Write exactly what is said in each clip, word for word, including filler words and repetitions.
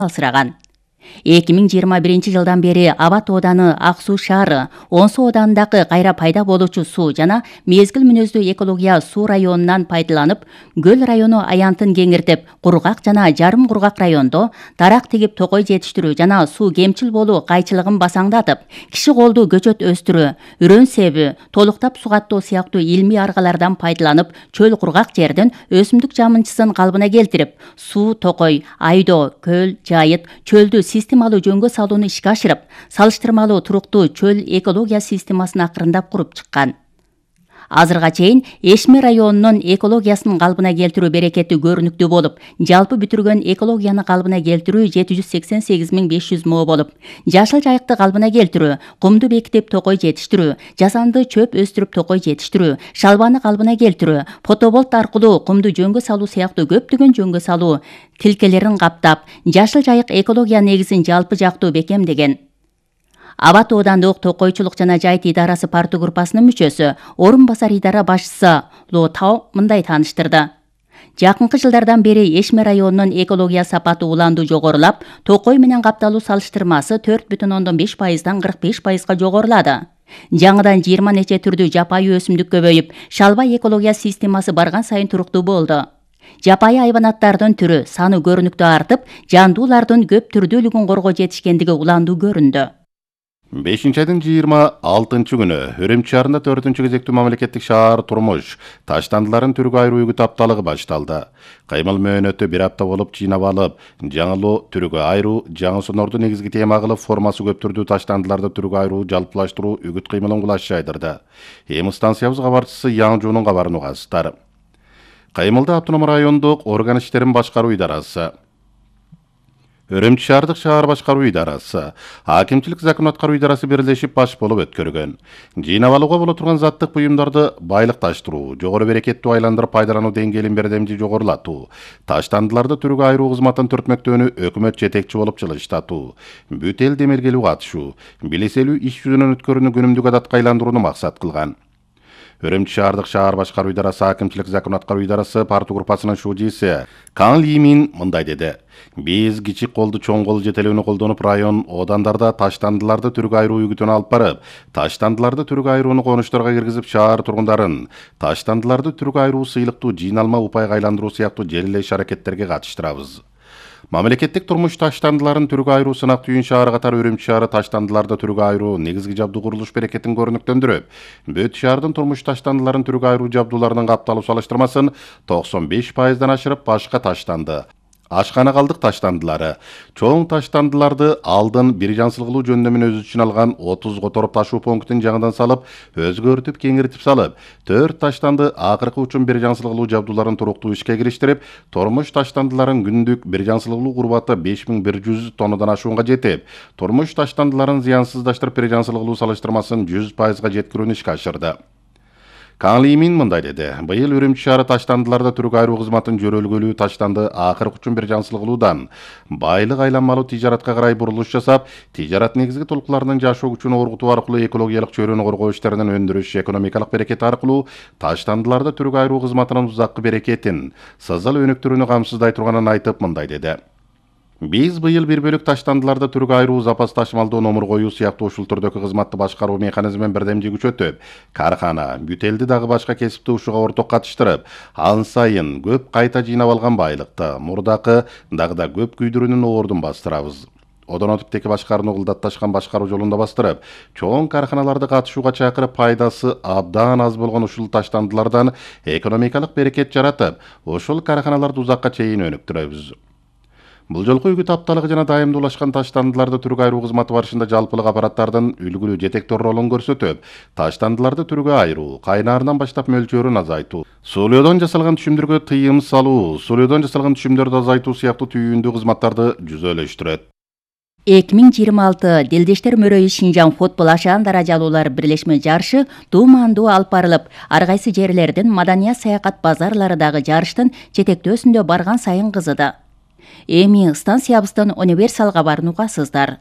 алсыраган. эки миң жыйырма биринчи жылдан бери Аба тооданы Ак Суу шаары, Онсу оодандагы кайра пайда болуучу суу жана мезгил мүнөздүү экология суу районунан пайдаланып, көл району аянтын кеңиртип, кургак жана жарым кургак райондо дарак тигип токой жетиштирүү жана суу кемчил болуу кайчылыгын басаңдатып, киши колдуу көчөт өстүрүү, үрөн себүү, толуктап сугаттоо сыяктуу илмий аргалардан пайдаланып, чөл кургак жердин өсүмдүк жамынчысын калыбына келтирип, суу токой, айдоо, көл, жайыт, чөлдү системалуу жөнгө салууну ишке ашырып, салыштырмалуу туруктуу чөл экология системасын акырындап куруп чыккан. Азырга чейин Эшме районунун экологиясын калыбына келтирүү берекети көрүнүктүү болуп, жалпы бүтүргөн экологияны калыбына келтирүү жети жүз сексен сегиз миң беш жүз мо болуп, жашыл жайыкты калыбына келтирүү, кумду бекитип токой жетиштирүү, жасанды чөп өстүрүп токой жетиштирүү, шалбаны калыбына келтирүү, фотоболт аркылуу кумду жөнгө салуу сыяктуу көптөгөн жөнгө салуу тилкелерин каптап, жашыл жайык экология негизин жалпы жактуу бекемдеген. Аба тоодандык токойчулук жана жайыт идарасы парту группасынын мүчөсү, орун басар идара башчысы Ло Тао мындай тааныштырды. Жакынкы жылдардан бери Эшме районунун экология сапаты уланду жогорулап, токой менен капталуу салыштырмасы төрт бүтүн ондон беш пайыздан кырк беш пайызга жогорулады. Жаңыдан жыйырма нече түрдүү жапайы өсүмдүк көбөйүп, шалбай экология системасы барган сайын туруктуу болду. Жапайы айванаттардын түрү саны көрүнүктүү артып, жандуулардын көп түрдүүлүгүн коргоо жетишкендиги уландуу көрүндү. бешинчи айдын жыйырма алтынчы күнү Үрүмчү шаарында төртүнчү кезектүү мамлекеттик шаар турмуш таштандыларын түргө айыруу үгүт апталыгы башталды. Каймыл мөөнөтү бир апта болуп жыйнап алып, жаңылоо түргө айыруу, жаңы сонорду негизги тема кылып, формасы көп түрдүү таштандыларды түргө айыруу жалпылаштыруу үгүт кыймылын кулаш жайдырды. Эми станциябыз кабарчысы Яң Жунун кабарын угасыздар. Каймылда автоном райондук орган иштерин башкаруу идарасы, Үрүмчү шаардык шаар башкаруу идарасы, Акимчилик закон аткаруу идарасы бирлешип баш болуп өткөргөн. Жыйнап алууга боло турган заттык буюмдарды байлыкташтыруу, жогору берекеттүү айландырып пайдалануу деңгээлин бердемди жогорулатуу, таштандыларды түргө айыруу кызматын түртмөктөөнү өкмөт жетекчи болуп жылыштатуу, бүт эл демелгелүү катышуу, билеселүү иш жүзүнөн өткөрүүнү күнүмдүк адатка айландырууну максат кылган. Үрүмчү шаардык шаар башкаруу идарасы, Акимчилик закон аткаруу идарасы парту группасынын шужиси Кан Лимин мындай деди. Биз кичик колду чоң кол жетелүүнү колдонуп, район оодандарда таштандыларды түргө айыруу үгүтүн алып барып, таштандыларды түргө айырууну конуштарга киргизип, шаар тургундарын таштандыларды түргө айыруу сыйлыктуу жыйналма упайга айландыруу сыяктуу желиле иш аракеттерге катыштырабыз. Мамлекеттик турмуш таштандыларын түргө айыруу сынак түйүн шаары катары Үрүмчү шаары таштандыларды түргө айыруу негизги жабдуу курулуш берекетин көрүнүктөндүрүп, бүт шаардын турмуш таштандыларын түргө айыруу жабдууларынын капталуу салыштырмасын токсон беш пайыздан ашырып, башка таштанды, ашкана калдык таштандылары, чоң таштандыларды алдын бир жансылгылуу жөндөмүн өз үчүн алган отуз которуп ташуу пунктин жаңыдан салып, өзгөртүп кеңиртип салып, төрт таштанды акыркы үчүн бир жансылгылуу жабдууларын туруктуу ишке кириштирип, турмуш таштандыларын күндүк бир жансылгылуу курбаты беш миң бир жүз тоннадан ашуунга жетип, турмуш таштандыларын зыянсыздаштырып бир жансылгылуу салыштырмасын жүз пайызга жеткирүүнү ишке ашырды. Кан Лимин мындай деди. Быйыл Үрүмчү шаары таштандыларды түргө айыруу кызматын жөрөлгөлүү таштанды акыркы үчүн бир жансылгылуудан байлык айланмалуу тижаратка карай бурулуш жасап, тижарат негизги толкуларынын жашоо күчүн оргутуу аркылуу экологиялык чөйрөнү коргоо иштеринин өндүрүш, экономикалык берекети аркылуу таштандыларды түргө айыруу кызматынын узаккы берекетин, сызыл өнүктүрүүнү камсыздай турганын айтып мындай деди. Биз быйыл бир бөлүк таштандыларды түргө айыруу, запас ташмалдоо, номур коюу сыяктуу ушул түрдөгү кызматты башкаруу механизмин бирдемди күчөтүп, кархана, бүт элди дагы башка кесипти ушуга орток катыштырып, ан сайын көп кайта жыйнап алган байлыкты, мурдакы дагы да көп күйдүрүүнүн оордун бастырабыз. Одон өтүп теки башкарууну кылдатташкан башкаруу жолунда бастырып, чоң карханаларды катышууга чакырып, пайдасы абдан аз болгон ушул таштандылардан экономикалык берекет жаратып, ушул карханаларды узакка чейин өнүктүрөбүз. Бул жолку үгүт апталыгы жана дайымдуулашкан таштандыларды түргө айыруу кызматы барышында жалпылык аппараттардын үлгүлүү жетектор ролун көрсөтүп, таштандыларды түргө айыруу, кайнаарынан баштап мөлчөрүн азайтуу, сулоодон жасалган түшүмдөргө тыйым салуу, сулоодон жасалган түшүмдөрдү азайтуу сыяктуу түйүндүү кызматтарды жүзөлөштүрөт. эки миң жыйырма алты Делдештер мөрөйү Шинжаң футбол ашаан даражалуулар бирлешме жарышы дуумандуу алып барылып, ар кайсы жерлердин маданият саякат базарлары дагы жарыштын жетектөөсүндө барган сайын кызыды. Эми станциябыздын универсал кабарын угасыздар.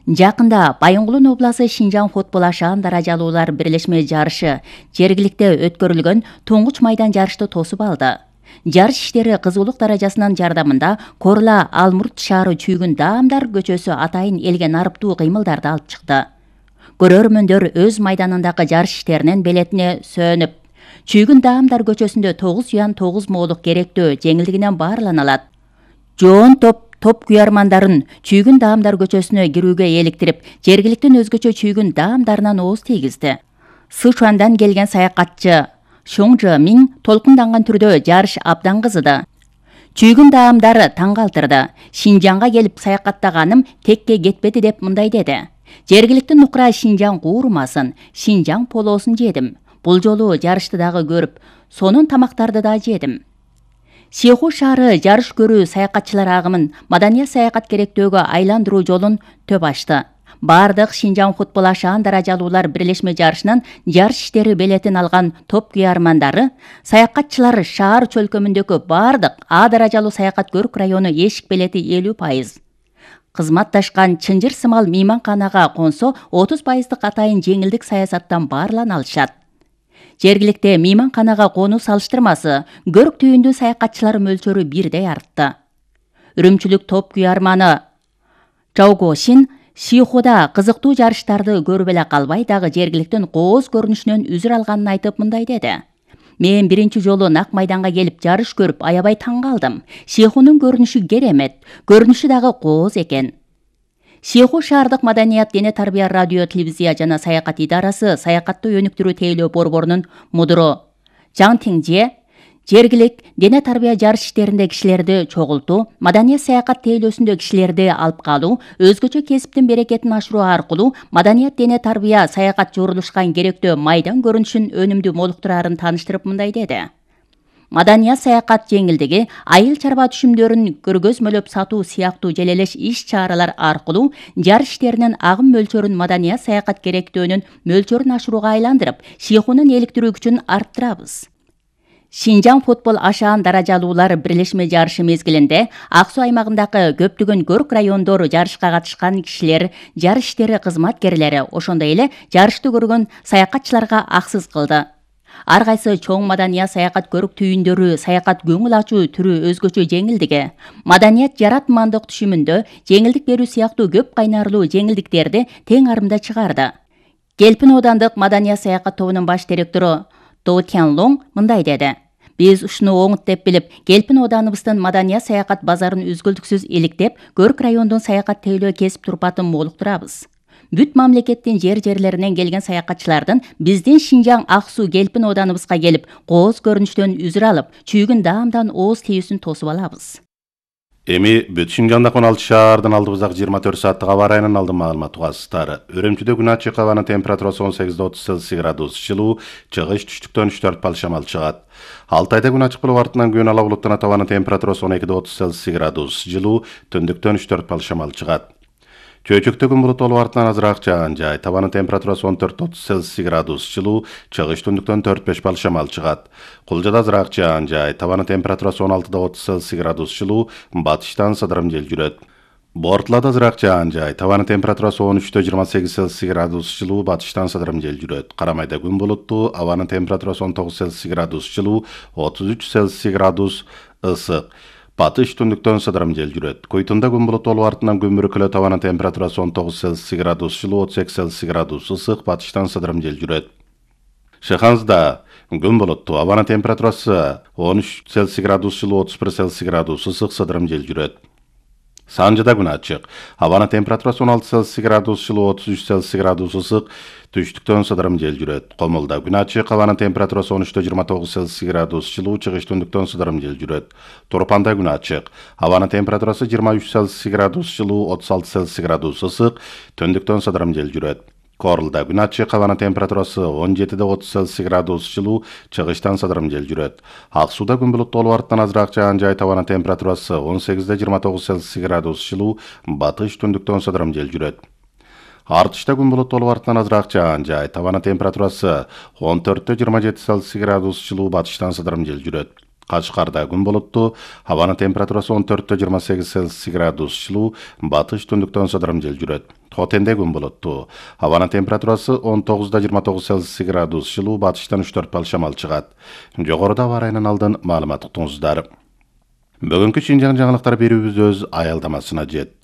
Жакында Байынгулун обласы Шинжаң футбол ашаан даражалуулар бирлешме жарышы жергиликте өткөрүлгөн туңгуч майдан жарышты тосуп алды. Жарыш иштери кызуулук даражасынын жардамында Корла Алмурт шаары чүйгүн даамдар көчөсү атайын элге нарыптуу кыймылдарды алып чыкты. Көрөрмөндөр өз майданындагы жарыш иштеринин белетине сөөнүп, чүйгүн даамдар көчөсүндө тогуз уян тогуз моолук керектөө жеңилдигинен баарлана алат. Жоон топ топ куярмандарын чүйгүн даамдар көчөсүнө кирүүгө эликтирип, жергиликтин өзгөчө чүйгүн даамдарынан ооз тийгизди. Сычуандан келген саякатчы Шоңжы Миң толкунданган түрдө жарыш абдан кызыды. Чүйгүн даамдары таң калтырды. Шинжаңга келип саякаттаганым текке кетпеди деп мындай деди. Жергиликтин нукура Шинжаң куурмасын, Шинжаң полосун жедим. Бул жолу жарышты дагы көрүп, сонун тамактарды да жедим. Сиху шаары жарыш көрүү саякатчылар агымын маданият саякат керектөөгө айландыруу жолун төп ачты. Бардык Шинжаң футбол ашаан даражалуулар бирлешме жарышынын жарыш иштери белетин алган топ куярмандары, саякатчылар шаар чөлкөмүндөгү бардык А даражалуу саякат көрүк району эшик белети элүү пайыз. Кызматташкан чынжыр сымал мейманканага консо отуз пайыздык атайын жеңилдик саясаттан баарлана алышат. Жергиликте мейманканага конуу салыштырмасы көрүк түйүндүү саякатчылар мөлчөрү бирдей артты. Үрүмчүлүк топ куярманы Чаогошин Сихуда кызыктуу жарыштарды көрүп эле калбай, дагы жергиликтин кооз көрүнүшүнөн үзүр алганын айтып мындай деди. Мен биринчи жолу нак майданга келип жарыш көрүп аябай таң калдым. Сихунун көрүнүшү керемет, көрүнүшү дагы кооз экен. Сиху шаардык маданият, дене тарбия, радио, телевизия жана саякат идарасы саякатты өнүктүрүү тейлөө борборунун мудуру Жаң Тиңже жергилик дене тарбия жарыш иштеринде кишилерди чогултуу, маданият саякат тейлөөсүндө кишилерди алып калуу, өзгөчө кесиптин берекетин ашыруу аркылуу маданият, дене тарбия саякат жорулушкан керектөө майдан көрүнүшүн өнүмдүү молуктурарын тааныштырып мындай деди. Маданият саякат жеңилдиги айыл чарба түшүмдөрүн көргөзмөлөп сатуу сыяктуу желелеш иш-чаралар аркылуу жарыш иштеринин агым мөлчөрүн маданият саякат керектөөнүн мөлчөрүн ашырууга айландырып, Сихунун эликтирүү күчүн арттырабыз. Шинжаң футбол ашаан даражалуулар бирлешме жарышы мезгилинде Ак Суу аймагындагы көптөгөн көрүк райондор жарышка катышкан кишилер, жарыш иштери кызматкерлери, ошондой эле жарышты көргөн саякатчыларга аксыз кылды. Ар кайсы чоң маданият саякат көрүк түйүндөрү, саякат көңүл ачуу түрү өзгөчө жеңилдиги, маданият жаратмандык түшүмүндө жеңилдик берүү сыяктуу көп кайнарлуу жеңилдиктерди тең арымда чыгарды. Келпин оодандык маданият саякат тобунун баш директору До Тянлонг мындай деди. Биз ушуну оңут деп билип, Келпин ооданыбыздын маданият саякат базарын үзгүлтүксүз иликтеп, көрүк райондун саякат тейлөө кесип турпатын молуктурабыз. Бүт мамлекеттин жер-жерлеринен келген саякатчылардын биздин Шинжаң Ак Суу Келпин ооданыбызга келип, кооз көрүнүштөн үзүр алып, чүйгүн даамдан ооз тийүүсүн тосуп алабыз. Эми бүт Шинжаңдагы он алты шаардын алдыбыздагы жыйырма төрт сааттык аба ырайынын алдын маалыматы угасыздар. Үрүмчүдө күн ачык, абанын температурасы он сегиз отуз Цельсий градус, жылуу, чыгыш түштүктөн үч төрт балл шамал чыгат. Алтайда күн ачык болуп, артынан күн ала булуттанат, абанын температурасы он эки отуз Цельсий градус, жылуу, түндүктөн үч төрт балл шамал чыгат. Чөйчөктө күн булут болуп, артынан азыраак жаан жай. Табанын температурасы он төрт отуз Цельсий градус, жылуу, чыгыш түндүктөн төрт беш балл шамал чыгат. Кулжада азыраак жаан жай. Табанын температурасы он алты отуз Цельсий градус, жылуу, батыштан сыдырым жел жүрөт. Бортлада азыраак жаан жай. Табанын температурасы он үч жыйырма сегиз Цельсий градус, жылуу, батыштан сыдырым жел жүрөт. Карамайда күн булуттуу, абанын температурасы он тогуз Цельсий градус, жылуу, отуз үч Цельсий градус ысык. Батыш түндүктөн сыдырым жел жүрөт. Койтунда күн булут болуп, артынан күн бүркүлөт, абанын температурасы он тогуз Цельсий градус, жылуу, отуз эки Цельсий градус ысык, батыштан сыдырым жел жүрөт. Шыханзда күн булуттуу, абанын температурасы он үч Цельсий градус, жылуу, отуз бир Цельсий градус ысык, сыдырым жел жүрөт. Санжыда күн ачык, абанын температурасы он алты Цельсий градус, жылуу, отуз үч Цельсий градус ысык, түштүктөн сыдырым жел жүрөт. Комулда күн ачык, абанын температурасы он үч жыйырма тогуз Цельсий градус, жылуу, чыгыш түндүктөн сыдырым жел жүрөт. Турпанда күн ачык, абанын температурасы жыйырма үч Цельсий градус, жылуу, отуз алты Цельсий градус ысык, түндүктөн сыдырым жел жүрөт. Корулда күн ачык, абанын температурасы он жети отуз Цельсий градус, жылуу, чыгыштан сыдырым жел жүрөт. Ак Сууда күн булуттуу болуп, артынан азыраак жаан жай, табанын температурасы он сегиз жыйырма тогуз Цельсий градус, жылуу, батыш түндүктөн сыдырым жел жүрөт. Артышта күн булуттуу болуп, артынан азыраак жаан жай, табанын температурасы он төрт жыйырма жети Цельсий градус, жылуу, батыштан сыдырым жел жүрөт. Кашкарда күн булуттуу, абанын температурасы он төрт жыйырма сегиз Цельсий градус, жылуу, батыш түндүктөн сыдырым жел жүрөт. Хотенде күн булуттуу. Абанын температурасы он тогузда жыйырма тогуз Цельсий градус, жылуу батыштан үч төрт балл шамал чыгат. Жогоруда аба ырайынан алдын маалымат уктуңуздар. Бүгүнкү Шинжаң жаңылыктар берүүбүз өз аялдамасына жетти.